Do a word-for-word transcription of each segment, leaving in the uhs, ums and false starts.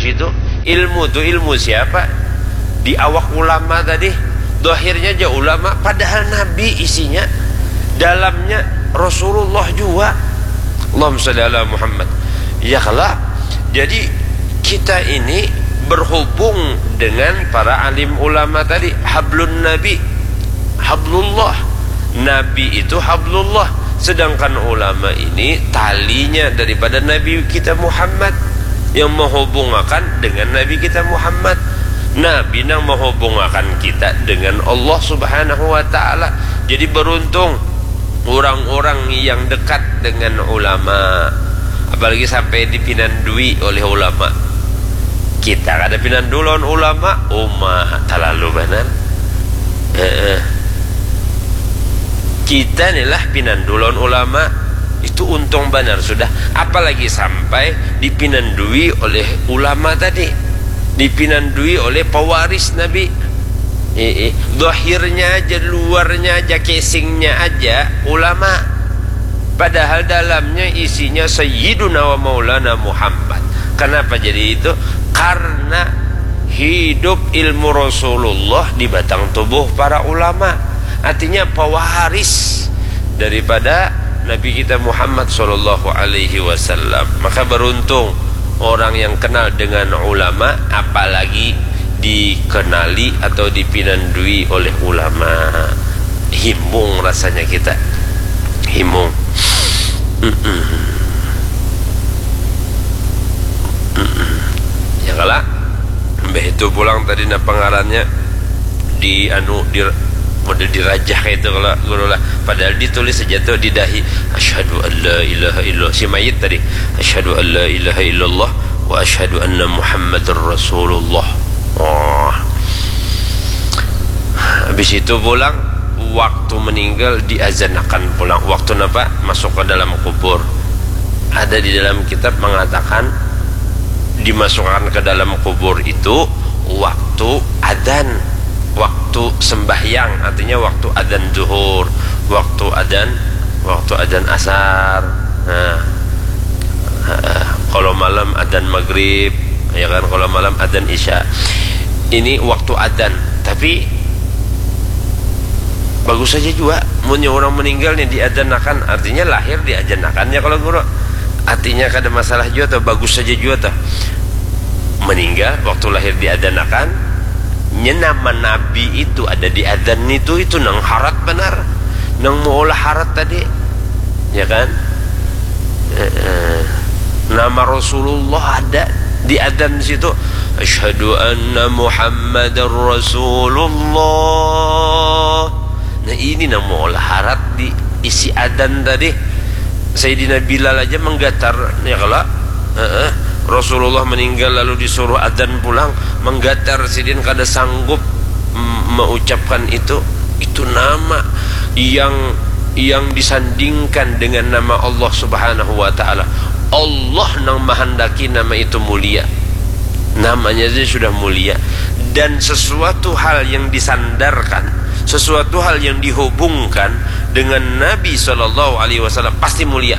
Itu ilmu tu ilmu siapa? Di awak ulama tadi. Dohirnya aja ulama, padahal Nabi isinya, dalamnya Rasulullah juga. Allahumma sholli ala Muhammad. Ya kala. Jadi kita ini berhubung dengan para alim ulama tadi, hablun Nabi, hablullah. Nabi itu hablullah, sedangkan ulama ini talinya daripada Nabi kita Muhammad, yang menghubungakan dengan Nabi kita Muhammad. Nabi nang menghubungakan kita dengan Allah Subhanahu wa Ta'ala. Jadi, beruntung orang-orang yang dekat dengan ulama, apalagi sampai dipinandui oleh ulama. Kita kada pinandu lawan ulama, uma, talalu banar. Heeh. Kita ni lah pinandu lawan ulama, itu untung banar sudah. Apalagi sampai dipinandui oleh ulama tadi, dipinandui oleh pewaris Nabi. Eh, eh. Zahirnya aja, luarnya aja, casingnya aja ulama. Padahal dalamnya isinya Sayyiduna wa Maulana Muhammad. Kenapa jadi itu? Karena hidup ilmu Rasulullah di batang tubuh para ulama. Artinya pewaris daripada Nabi kita Muhammad sallallahu alaihi wasallam. Maka beruntung orang yang kenal dengan ulama, apalagi dikenali atau dipinandui oleh ulama. Himung rasanya kita. Himung. Mm-mm. Mm-mm. Ya kala. Mbah itu pulang tadi napa ngarannya di anu di model dirajah kayak itu kalau guru lah. Padahal ditulis saja tuh di dahi, asyhadu an la ilaha illallah, si mayit tadi, asyhadu an la ilaha illallah wa asyhadu anna Muhammadar Rasulullah. Wah. Habis itu pulang, waktu meninggal diazanakan pulang. Waktu napa? Masuk ke dalam kubur. Ada di dalam kitab mengatakan dimasukkan ke dalam kubur itu waktu adzan, waktu sembahyang, artinya waktu adzan zuhur, waktu adzan, waktu adzan asar. Nah, kalau malam adzan maghrib, ya kan, kalau malam adzan isya. Ini waktu adzan, tapi bagus saja juga. Munnya orang meninggal nih diadzanakan, artinya lahir diadzanakan ya kalau guru. Artinya kada masalah juga tuh, bagus saja juga tuh. Meninggal waktu lahir diadzanakan, nya nama Nabi itu ada di adzan itu, itu nang harat benar, nang maulah harat tadi, ya kan? Eh, eh. Nama Rasulullah ada di adzan situ. Asyhadu anna Muhammadar Rasulullah. Nah, ini nang maulah harat di isi adzan tadi. Sayyidina Bilal aja menggatar, ya kala? Heeh. Rasulullah meninggal lalu disuruh adzan pulang, menggatar sidin kada sanggup m-, mengucapkan itu. Itu nama yang yang disandingkan dengan nama Allah Subhanahu wa Ta'ala. Allah nang menghendaki nama itu mulia. Namanya saja sudah mulia. Dan sesuatu hal yang disandarkan, sesuatu hal yang dihubungkan dengan Nabi Shallallahu Alaihi Wasallam pasti mulia.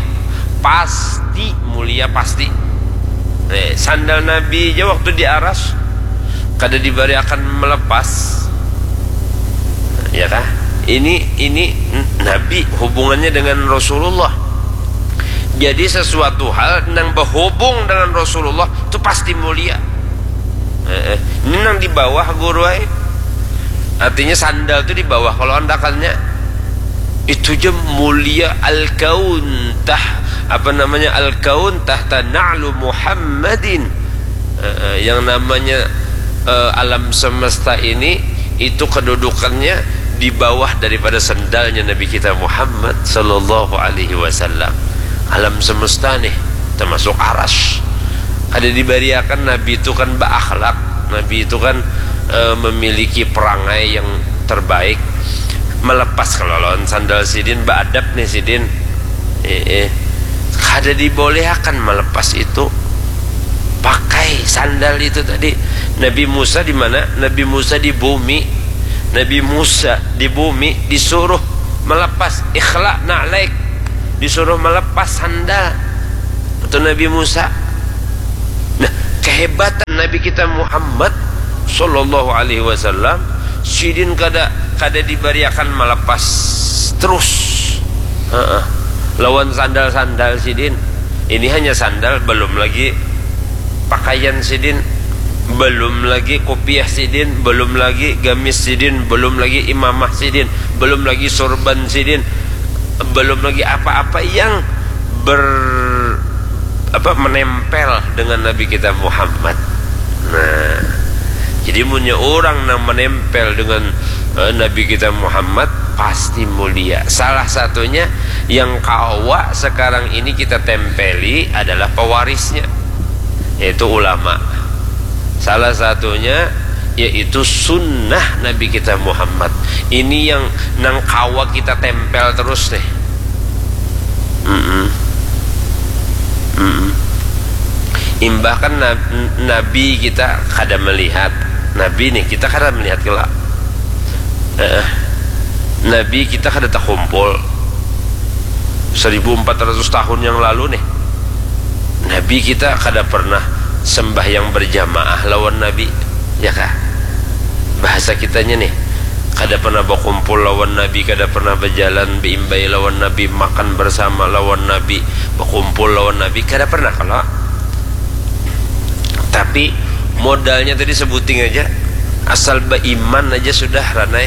Pasti mulia, pasti. Eh, sandal Nabi aja waktu di aras kada dibariakan melepas. Ya kah? Ini ini Nabi hubungannya dengan Rasulullah. Jadi sesuatu hal nang berhubung dengan Rasulullah itu pasti mulia. Eh, eh. Ini nang di bawah guru ai. Artinya sandal itu di bawah kalau andakannya. Itu je mulia al-kaun tah, apa namanya, al-kaun tahta na'lu Muhammadin. Eh, eh, yang namanya eh, alam semesta ini itu kedudukannya di bawah daripada sendalnya Nabi kita Muhammad sallallahu alaihi wasallam. Alam semesta nih termasuk aras. Ada dibariakan Nabi itu kan berakhlak, Nabi itu kan eh, memiliki perangai yang terbaik. Melepas kalau lawan sandal sidin, beadab nih sidin. Eh, eh. Kada dibolehakan melepas itu. Pakai sandal itu tadi. Nabi Musa di mana? Nabi Musa di bumi. Nabi Musa di bumi disuruh melepas ikhla na'laik. Disuruh melepas sandal. Itu Nabi Musa. Nah, kehebatan Nabi kita Muhammad sallallahu alaihi wasallam, sidin kada kada dibariakan melepas terus. Heeh. Lawan sandal-sandal sidin. Ini hanya sandal, belum lagi pakaian sidin, belum lagi kopiah sidin, belum lagi gamis sidin, belum lagi imamah sidin, belum lagi sorban sidin, belum lagi apa-apa yang ber apa menempel dengan Nabi kita Muhammad. Nah, jadi munnya orang nang menempel dengan eh, Nabi kita Muhammad pasti mulia. Salah satunya yang kawa sekarang ini kita tempeli adalah pewarisnya, yaitu ulama. Salah satunya yaitu sunnah Nabi kita Muhammad. Ini yang nang kawa kita tempel terus nih. Mm-mm. Mm-mm. Imbah kan nab- Nabi kita kada melihat. Nabi nih kita kada melihat kela. Eh, Nabi kita kada takumpul seribu empat ratus tahun yang lalu nih. Nabi kita kada pernah sembahyang berjamaah lawan Nabi, ya kah? Bahasa kitanya nih, kada pernah bakumpul lawan Nabi, kada pernah berjalan beimbai lawan Nabi, makan bersama lawan Nabi, bakumpul lawan Nabi, kada pernah kalau. Tapi modalnya tadi sebuting aja, asal beriman aja sudah ranai.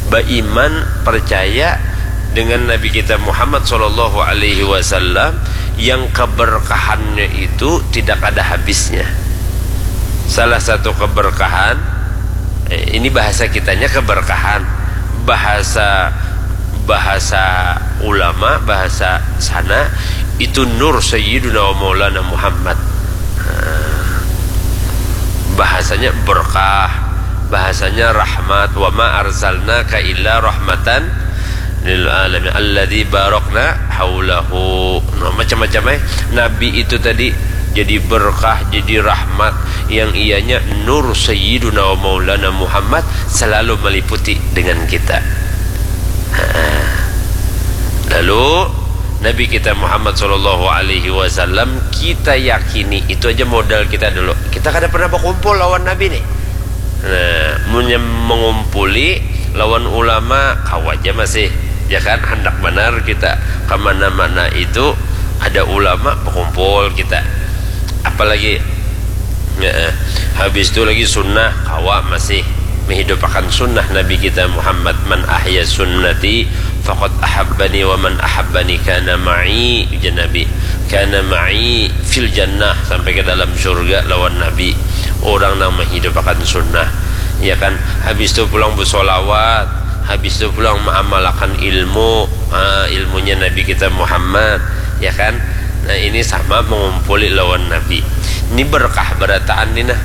Beriman, percaya dengan Nabi kita Muhammad sallallahu alaihi wasallam yang keberkahannya itu tidak ada habisnya. Salah satu keberkahan, eh, ini bahasa kitanya keberkahan, bahasa bahasa ulama, bahasa sana itu nur Sayyiduna wa Maulana Muhammad. Nah, bahasanya berkah, bahasanya rahmat, wa ma arsalnaka illa rahmatan lil alamin alladzi barakna haulahu. Nah, macam-macam eh. Nabi itu tadi jadi berkah, jadi rahmat yang ianya nur Sayyiduna wa Maulana Muhammad selalu meliputi dengan kita. Lalu Nabi kita Muhammad sallallahu alaihi wasallam kita yakini itu aja modal kita dulu. Kita kada pernah berkumpul lawan Nabi nih. Nah, munnya mengumpuli lawan ulama kau aja masih ya kan hendak benar kita kemana-mana itu ada ulama berkumpul kita apalagi ya, habis itu lagi sunnah kawa masih menghidupakan sunnah Nabi kita Muhammad man ahya sunnati faqad ahabbani wa man ahabbani kana ma'i ujar Nabi kana ma'i fil jannah sampai ke dalam surga lawan Nabi orang nang menghidupakan sunnah ya kan habis itu pulang bersolawat habis itu pulang mengamalkan ilmu ha, ilmunya Nabi kita Muhammad ya kan nah ini sama mengumpuli lawan Nabi ini berkah berataan ni nah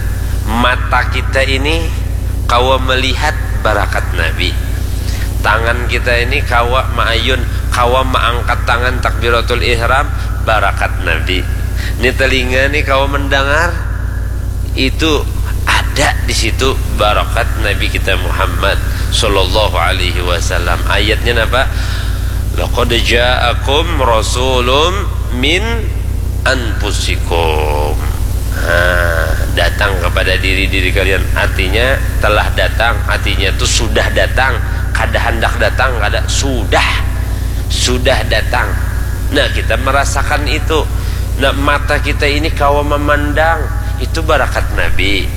mata kita ini kawa melihat barakat Nabi tangan kita ini kawa maayun kawa maangkat tangan takbiratul ihram barakat Nabi ini telinga ni kawa mendengar itu ada di situ barakat Nabi kita Muhammad sallallahu alaihi wasallam. Ayatnya apa? Laqad ja'akum rasulun min anfusikum. Nah, datang kepada diri diri kalian artinya telah datang artinya itu sudah datang kada hendak datang kada sudah sudah datang nah kita merasakan itu nah mata kita ini kawa memandang itu barakat Nabi.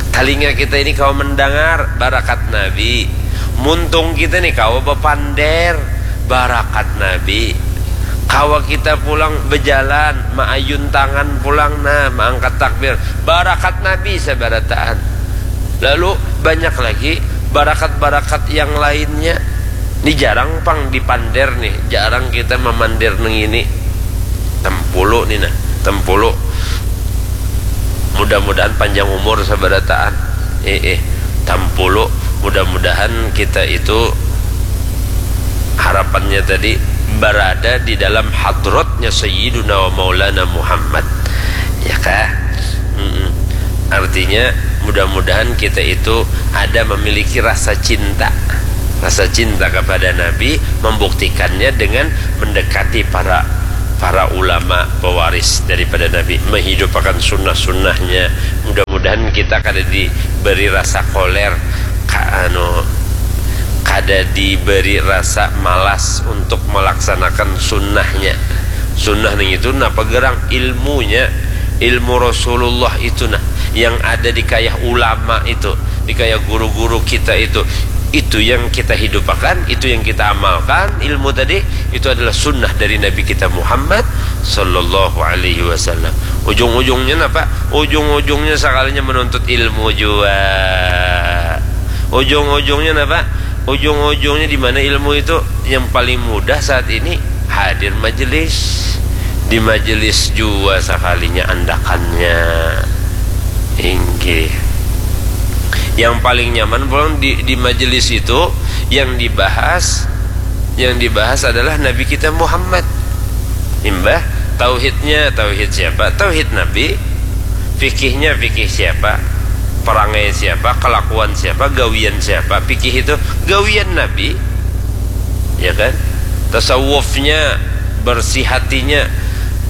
Talinga kita ini kawa mendangar, barakat Nabi. Muntung kita ni kawa bapander, barakat Nabi. Kawa kita pulang bejalan, maayun tangan pulang nah, maangkat takbir, barakat Nabi sabarataan. Lalu banyak lagi barakat-barakat yang lainnya. Ni jarang pang dipander nih, jarang kita mamander nang ini. Tempulu ni nah, tempulu. Mudah-mudahan panjang umur sabarataan. Eh, eh, tampulu. Mudah-mudahan kita itu harapannya tadi berada di dalam hadratnya Sayyiduna wa Maulana Muhammad. Ya kah? Mm-mm. Artinya mudah-mudahan kita itu ada memiliki rasa cinta. Rasa cinta kepada Nabi membuktikannya dengan mendekati para para ulama pewaris daripada Nabi, menghidupakan sunnah-sunnahnya. Mudah-mudahan kita kada diberi rasa koler, ka, anu, kada diberi rasa malas untuk melaksanakan sunnahnya. Sunnah ning itu napa gerang? Ilmunya, ilmu Rasulullah itu nah, yang ada di kayah ulama itu, di kayah guru-guru kita itu. Itu yang kita hidupakan, itu yang kita amalkan, ilmu tadi, itu adalah sunnah dari Nabi kita Muhammad sallallahu alaihi wasallam. Ujung-ujungnya napa? Ujung-ujungnya sakalinya menuntut ilmu jua. Ujung-ujungnya napa? Ujung-ujungnya di mana ilmu itu? Yang paling mudah saat ini hadir majelis. Di majelis jua sakalinya andakannya. Inggih. Yang paling nyaman pulang di, di majelis itu yang dibahas, yang dibahas adalah Nabi kita Muhammad. Imbah tauhidnya, tauhid siapa? Tauhid Nabi. Fikihnya, fikih siapa? Perangai siapa? Kelakuan siapa? Gawian siapa? Fikih itu gawian Nabi. Ya kan? Tasawufnya, bersih hatinya,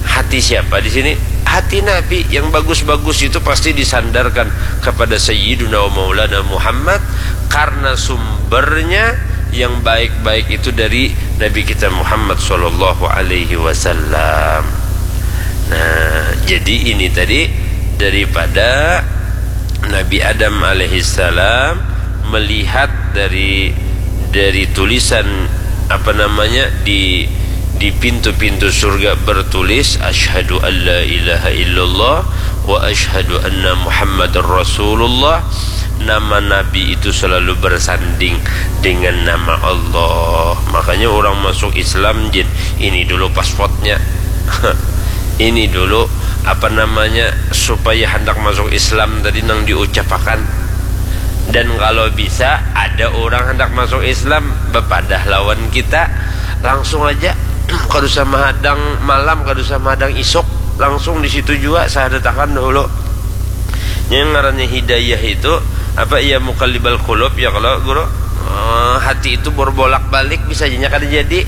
hati siapa di sini? Hati Nabi. Yang bagus-bagus itu pasti disandarkan kepada Sayyiduna wa Maulana Muhammad, karena sumbernya yang baik-baik itu dari Nabi kita Muhammad sallallahu alaihi wasallam. Nah, jadi ini tadi daripada Nabi Adam alaihissalam melihat dari, dari tulisan, apa namanya, di, di pintu-pintu surga bertulis, "Asyhadu an la ilaha illallah wa asyhadu anna Muhammadar Rasulullah." Nama Nabi itu selalu bersanding dengan nama Allah. Makanya orang masuk Islam, jin, ini dulu paspornya. Ini dulu, apa namanya, supaya hendak masuk Islam tadi nang diucapakan. Dan kalau bisa ada orang hendak masuk Islam, bepadah lawan kita, langsung aja, kada usah mahadang malam, kada usah mahadang isuk, langsung di situ jua sahadatakan dahulu. Yang ngarannya hidayah itu apa? Ya muqallibal qulub, ya kalau guru. Eh, hati itu berbolak-balik, bisa aja nya kada jadi.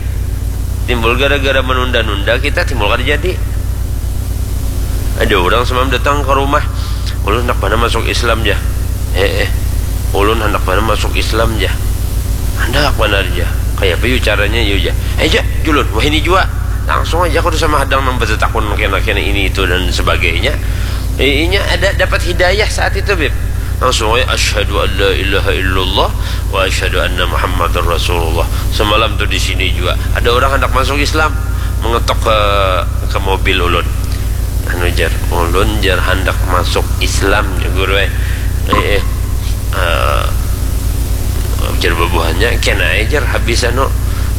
Timbul gara-gara menunda-nunda kita, timbul kada jadi. Ada orang semalam datang ke rumah, "Ulun handak banar masuk Islam, Jah." "Eh, eh, ulun handak banar masuk Islam, Jah." "Handak banar, Jah. Kaya apa yu caranya, yu, Jah?" "Eh, Jah, julun, wahini jua." Langsung aja, kada usah mahadang nang batatakun kena-kena ini itu dan sebagainya. Eh, inya ada dapat hidayah saat itu, Bib. Langsung aja, "Asyhadu an la ilaha illallah wa asyhadu anna Muhammadar Rasulullah." Semalam tuh di sini juga ada orang hendak masuk Islam, mengetok ke, ke mobil ulun. Anu, jar, "Ulun, jar, handak masuk Islam," jar guru, eh. Eh, eh. Eh, jar bubuhannya, "Kena aja, jar, habis anu,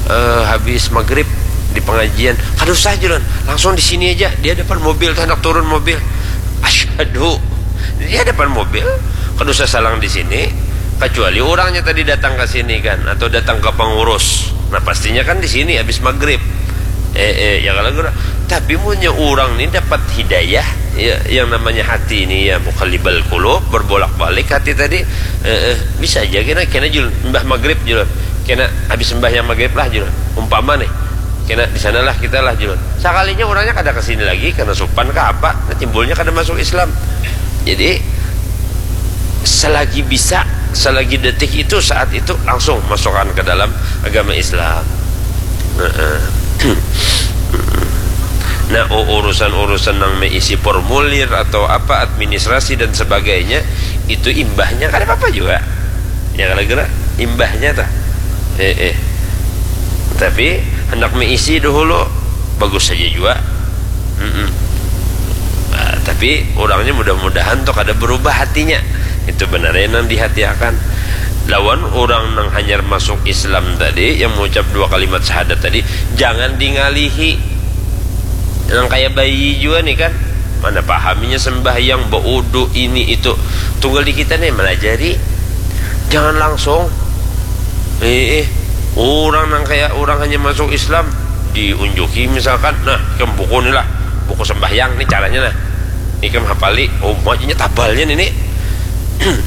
eh, habis maghrib di pengajian." "Kada usah," jar ulun, "langsung di sini aja, di hadapan mobil tuh, handak turun mobil." Asyhadu, di hadapan mobil, kada usah salang di sini, kecuali orangnya tadi datang ke sini kan, atau datang ke pengurus. Nah, pastinya kan di sini habis maghrib. Eh, eh, ya kalau guru. Tapi munnya orang ni dapat hidayah, ya, yang namanya hati ini, ya, muqallibal qulub, berbolak-balik hati tadi, eh, eh, bisa aja kena, kena jul, imbah maghrib jul, kena habis sembahyang maghrib lah jul. Umpama nih, kena di sanalah kita lah jul. Sakalinya orangnya kada ke sini lagi, kena supan ke apa, nah, timbulnya kada masuk Islam. Jadi, selagi bisa, selagi detik itu, saat itu, langsung masukkan ke dalam agama Islam. Heeh. Nah, u-, urusan-urusan yang meisi formulir atau apa, administrasi dan sebagainya, itu imbahnya kada apa-apa juga. Ya, kalau kira imbahnya tuh. Eh, eh. Tapi hendak meisi dahulu, bagus saja juga. Mm-mm. Ah, tapi orangnya mudah-mudahan tuh kada berubah hatinya. Itu benar ya nang dihatiakan. Lawan orang nang hanyar masuk Islam tadi, yang mengucap dua kalimat syahadat tadi, jangan dingalihi. Nang kayak bayi juga nih kan, mana pahaminya sembahyang, baudu, ini itu. Tunggal di kita nih melajari. Jangan langsung, eh, eh, orang nang kayak orang hanya masuk Islam, diunjuki misalkan, "Nah, ikam buku ni lah, buku sembahyang ni caranya nah. Ikam hafali, oh, majunya tabalnya ini.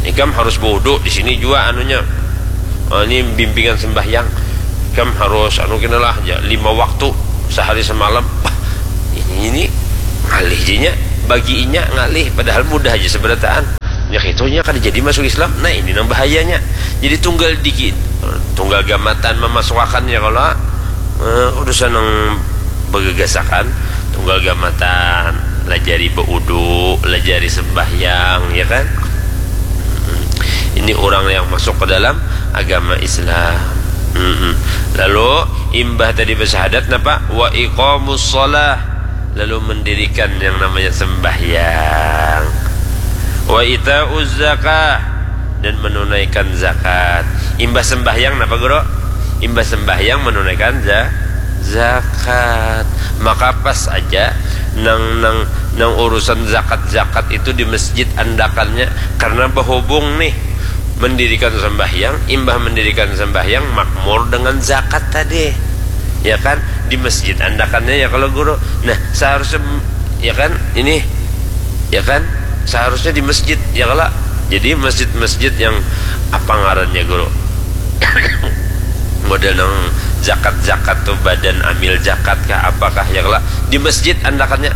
Ikam harus baudu di sini juga anunya. Ah, ini bimbingan sembahyang. Ikam harus anu kena lah, ya, lima waktu sehari semalam." Bah, Ini, ini ngalih jenya, bagi inya ngalih, padahal mudah aja seberataan. Nya kitunya kada jadi masuk Islam. Nah, ini nang bahayanya. Jadi tunggal dikit, tunggal gamatan mamasukakannya kalau eh, urusan nang bagagasakan, tunggal gamatan, lajari baudu, lajari sembahyang, ya kan? Ini orang yang masuk ke dalam agama Islam. Lalu imbah tadi bersahadat napa? Wa iqamus shalah, lalu mendirikan yang namanya sembahyang. Wa itauz zakah, dan menunaikan zakat. Imbah sembahyang napa, Guru? Imbah sembahyang menunaikan za zakat. Maka pas aja nang nang nang urusan zakat-zakat itu di masjid andakannya, karena bahubung nih mendirikan sembahyang, imbah mendirikan sembahyang makmur dengan zakat tadi, ya kan, di masjid andakannya, ya kalau, Guru. Nah, seharusnya, ya kan, ini, ya kan, seharusnya di masjid, ya kalau. Jadi masjid-masjid yang apa ngarannya, Guru? Model nang zakat-zakat tuh, badan amil zakat kah, apakah, ya kalau, di masjid andakannya.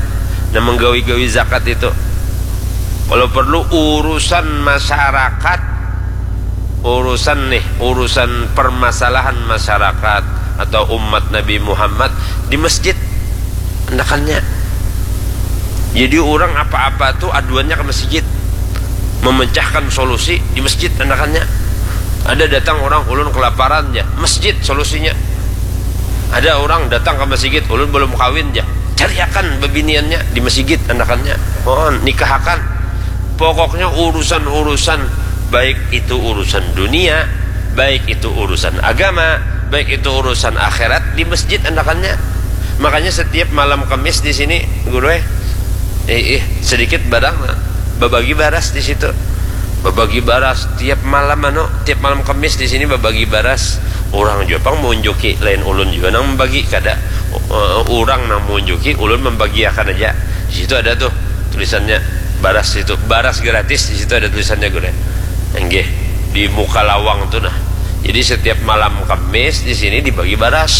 Nah, menggawi-gawi zakat itu, kalau perlu urusan masyarakat, urusan nih, urusan permasalahan masyarakat atau umat Nabi Muhammad di masjid andakannya. Jadi orang apa-apa tuh aduannya ke masjid, memecahkan solusi di masjid andakannya. Ada datang orang, ulun kelaparan, ya, masjid solusinya. Ada orang datang ke masjid, ulun belum kawin, ya, cariakan bebiniannya di masjid andakannya. Oh, nikahakan. Pokoknya urusan-urusan, baik itu urusan dunia, baik itu urusan agama, baik itu urusan akhirat, di masjid andakannya. Makanya setiap malam Kamis di sini, Guru, eh, eh, eh, sedikit barang, babagi baras di situ. Babagi baras tiap malam, anu, tiap malam Kamis di sini babagi baras. Orang juga pang mengunjuki, lain ulun juga nang membagi, kada. Eh, orang nang mengunjuki, ulun membagiakan aja. Di situ ada tuh tulisannya, baras itu, baras gratis, di situ ada tulisannya, Guru. Enggih, di muka lawang tuh, nah. Jadi setiap malam Kamis di sini dibagi baras.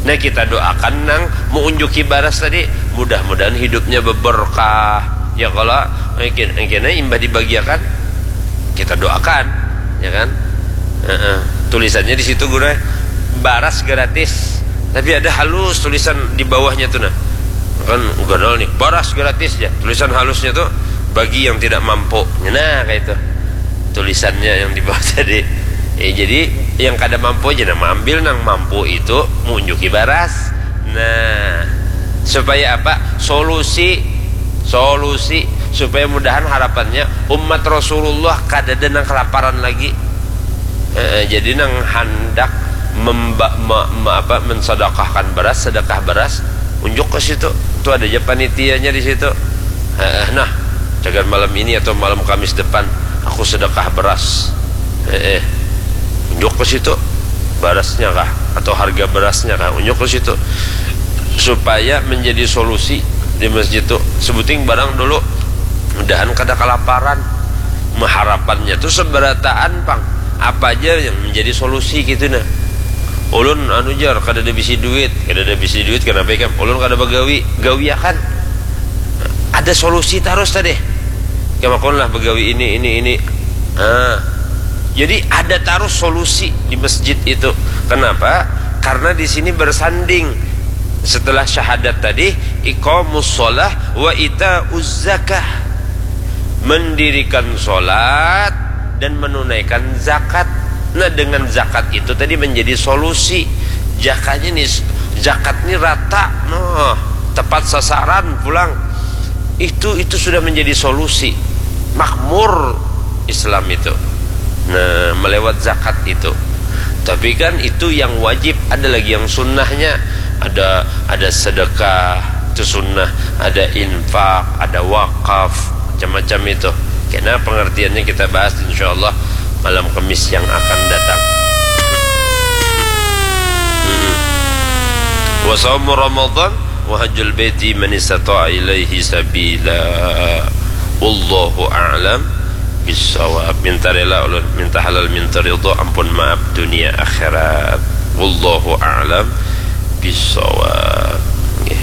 Nah, kita doakan nang mengunjuki baras tadi, mudah-mudahan hidupnya beberkah. Ya kalau mungkin, mungkin imbah dibagiakan, kita doakan, ya kan? Heeh. Tulisannya di situ, Guru, baras gratis. Tapi ada halus tulisan di bawahnya tuh, nah. Kan ganal nih, baras gratis ya. Tulisan halusnya tuh, bagi yang tidak mampu. Nah, kayak itu tulisannya yang di bawah tadi. Eh, jadi yang kada mampu aja, nah, ambil nang mampu itu, mengunjuki baras. Nah, supaya apa? Solusi, solusi supaya mudahan harapannya umat Rasulullah kada ada nang kelaparan lagi. Eh, jadi nang handak memba, me, me, apa, mensedekahkan beras, sedekah beras, unjuk ke situ. Itu ada aja panitianya di situ. Eh, nah, cagar malam ini atau malam Kamis depan, aku sedekah beras. Eh, eh, unjuk ke situ, berasnya kah atau harga berasnya kah, unjuk ke situ, supaya menjadi solusi di masjid tuh. Sebuting barang dulu, mudahan kada kelaparan. Meharapannya tuh seberataan pang, apa aja yang menjadi solusi gitu, nah. Ulun anu jar, kada ada bisi duit, kada ada bisi duit, kenapa ikam? Ulun kada bagawi, gawi akan. Ada solusi terus tadi. Kamakun lah begawi ini, ini, ini. Ah. Jadi ada terus solusi di masjid itu. Kenapa? Karena di sini bersanding setelah syahadat tadi, iqamus shalah wa itauz zakah. Mendirikan sholat dan menunaikan zakat. Nah, dengan zakat itu tadi menjadi solusi. Jakatnya nih, zakat ini rata, noh, tepat sasaran pulang. Itu itu sudah menjadi solusi. Makmur Islam itu. Nah, melewat zakat itu. Tapi kan itu yang wajib, ada lagi yang sunnahnya. Ada ada sedekah, itu sunnah, ada infak, ada wakaf, macam-macam itu. Kena pengertiannya kita bahas insyaallah malam Kamis yang akan datang. Wa saumu Ramadan wa hajjul baiti man istata'a ilaihi sabila. Wallahu a'lam bissawab. Minta rela ulun, minta halal, minta ridho, ampun maaf dunia akhirat. Wallahu a'lam bissawab. Nggih.